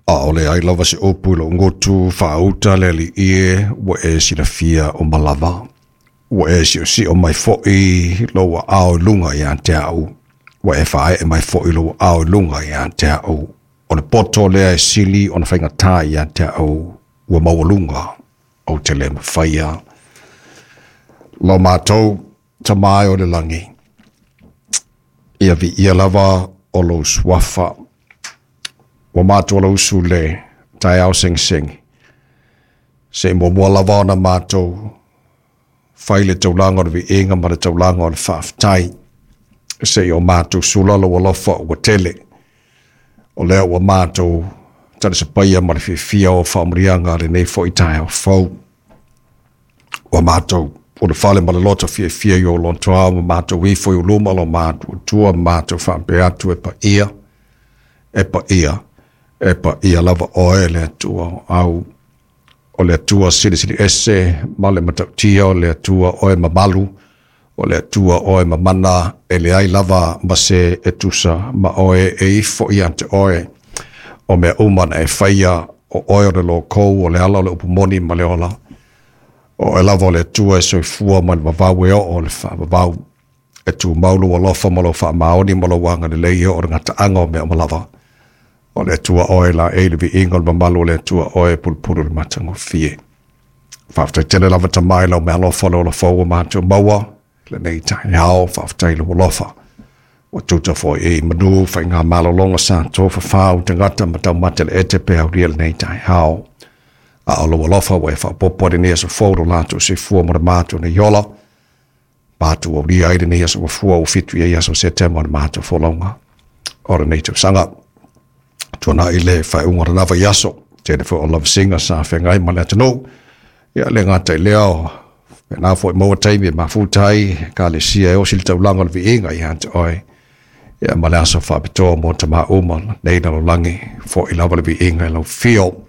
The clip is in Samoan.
ʻAʻole ai lava se upu i loʻu gutu faauta le Alii e, ua e silafia uma lava. Ua e siʻosiʻo mai foʻi lou aao i luga iā te aʻu, ua e faaee mai foʻi lou aao i luga iā te aʻu. O le poto lea e sili ona faigata iā te aʻu, ua maualuga ou te le mafaia. Lo mātou Tama e o le lagi, ia viia lava o lou suafa. Ua mātou alausu le taeao segisegi. Se i muamua lava ona mātou fai le taulaga o le viiga ma le taulaga o le faafetai. Se i o mātou sula lou alofa ua tele. O lea ua mātou talisapaia ma le fiafia o faamanuiaga lenei foi taeao fou. Ua mātou ulufale ma le loto fiafia i ou lotoao ma mātou ifo i luma o lo matou Atua ma mātou faapea atu e paia, e paia, e paia lava oe le Atua o au. O le Atua silisili ese ma le matautia o le Atua oe mamalu, o le Atua oe mamana, e leai lava ma se e tusa ma oe e ifo ia te oe. O mea uma na e faia, o oe o le lokou, o le ala o le upu moni ma le ola. O oe lava o le Atua e soifua mai le vavau e oo i le faavavau. E tumau lou alofa ma lou faamaoni ma lou agalelei e oo i le gataaga o mea uma lava. O le Atua oe laei le viiga o le mamalu o le Atua oe e pulupulu i le matagofie. Faafetai tele lava Tama i lau meaalofa o le ola fou ua matou maua lenei taeao. Faafetai i lou alofa. Ua tuta foi i manu faigamalologa sa tofafau tagata ma taumate le ete pe aulia lenei taeao. A o lou alofa ua e faaopoopo ai lenei aso fou lo latou soifua ma le matou nei ola. Matou aulia ai lenei aso mafua ua 7 i ai aso Setema o le matou folauga o lenei tausaga. Tuanai le faaiuga o lena vaiaso, tele foi o lavasiga sa feagai ma le atunuu. Ia le gata i lea o faapena foi maua taimi e mafuta ai ekalesia e osi le taulaga o le viiga ia te oe. Ia ma le aso faapitoa mo tamā uma nei lalolagi, foʻi lava le viiga i lau afio.